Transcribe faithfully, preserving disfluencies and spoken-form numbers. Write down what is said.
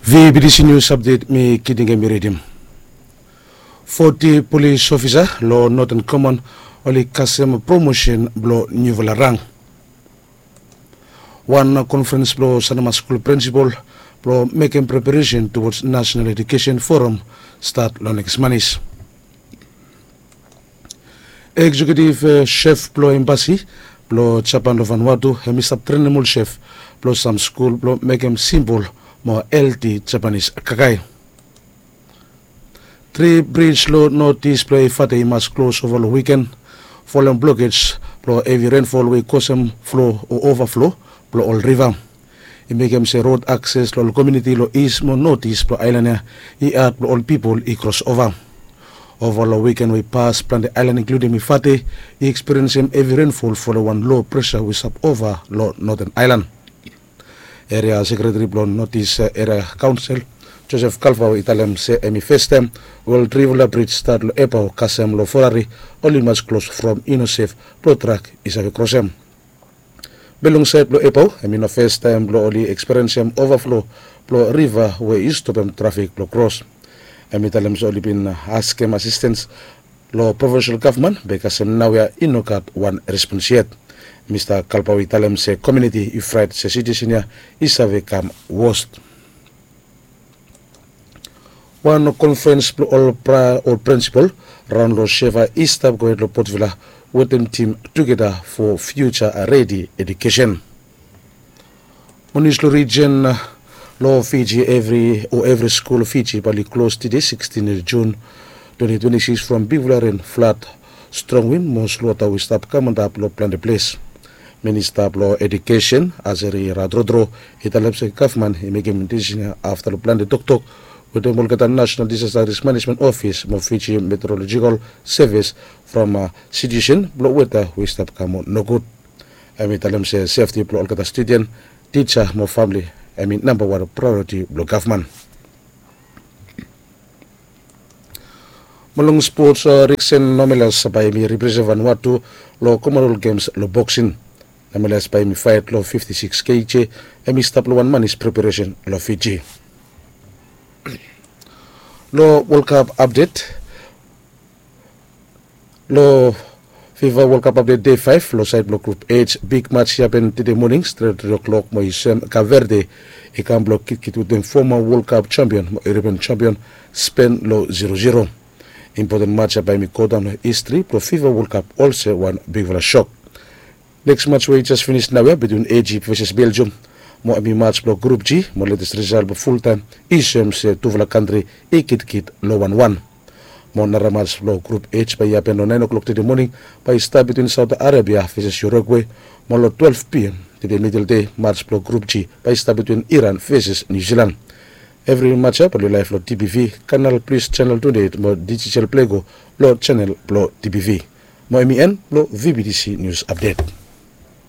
V B T C News Update, mi Kitingemi redim. Foti polis ofisa long Northern Command oli kasem promosen blong niufala rang. Wan konferens blong Sanama skul prinsipal blong mekem preparesen towards National Education Forum stat long nekis manis. Eksekiutiv sef blong embasi blong Japan long Vanuatu hem i stap trenem ol sef blong sam skul blong mekem simpol mo helti Japanis kakae. Tri brij long notis blong Efate i mas klos ova long wiken folem blokej blong hevi renfol we i kosem flo o ovaflo blong ol riva. I mekem se rod akses long ol komiuniti long is mo notis blong aelan ya i had blong ol pipol i kros ova. Ova long wiken we i pas plante aelan inkludim Efate i ekspiriensem hevi renfol folem wan lo presa we i stap ova long Noten Aelan. Eria sekretari blong Notis Eria Kaonsel Josef Kalvao i talem se hem i festaem we ol trivala brij stat long Epao kasem long Ferari oli mas klos from i no sef blong trak i save krosem. Be long saed blong Epao hem i no festaem blong oli ekspiriensem ovaflo blong riva we i stopem trafik blong kros. Hem i talem se oli bin askem asistens long provinsel gavman be kasem naoia i no gat wan respons yet. Mista Kalbao i talem se komiuniti i fraet se sitiuesen ya i save kam wos. Wan konferens blong ol prinsipal raon long Seva i stap gohed long Potvila wetem tim tugeta fo fiuja redi edukesen. Mo nius long rijen long Fiji, evri o evri skul Fiji bae oli klos tede sikstin Jun twenti twenti sikis from bigfala ren, flad, strong win mo solwota we i stap kam antap long plante ples. Minista blong edukesen Azeri Radrodro i talem se gavman i mekem disisin ya afta long plante toktok wetem olgeta Nasenal Disasta Risk Manejmen Ofis mo Fiji Meteorolojikal Sevis from sitiuesen blong weta we i stap kam nogud. Hem i talem se sefti blong olgeta studen, tija mo famle hem i nambawan praeoriti blong gavman. Mo long spots, Riksen Nomelas bae hem i represent Vanuatu long Komonwel Gems long boksin. Nomelas bae hem i faet long fifti sikis keiji. Hem i stap long wan manis preparesen long Fiji. Long Wolkap apdet, long Fifa Wolkap apdet dei faef long saed blong grup H, big maj i hapen tede moning stret tri oklok mo i sem Kap Verde i kam blong kitkit wetem foma Wolkap jampion mo Europian jampion Spen long zero zero. Impoten maj ya bae hem i godaon long histri blong Fifa Wolkap olsem wan bigfala sok. Neks maj we i jes finis naoia bitwin Ejip veses Beljum mo hem i maj blong grup G mo letes risal blong fultaem i soem se tufala kantri i kitkit long wanwan. Mo nara maj blong grup H bae i hapen long naen oklok tede moning bae i stap bitwin Saot Arebia veses Urugwe mo long twelef pm tede midel dei maj blong grup G bae i stap bitwin Iran veses Niu Silan. Evri maj ya bae oli laef long TBV, Kanal Plis Janel twenti eit mo Dijital Plego long janel blong TBV. Mo hem i en blong VBTC Nius Apdet.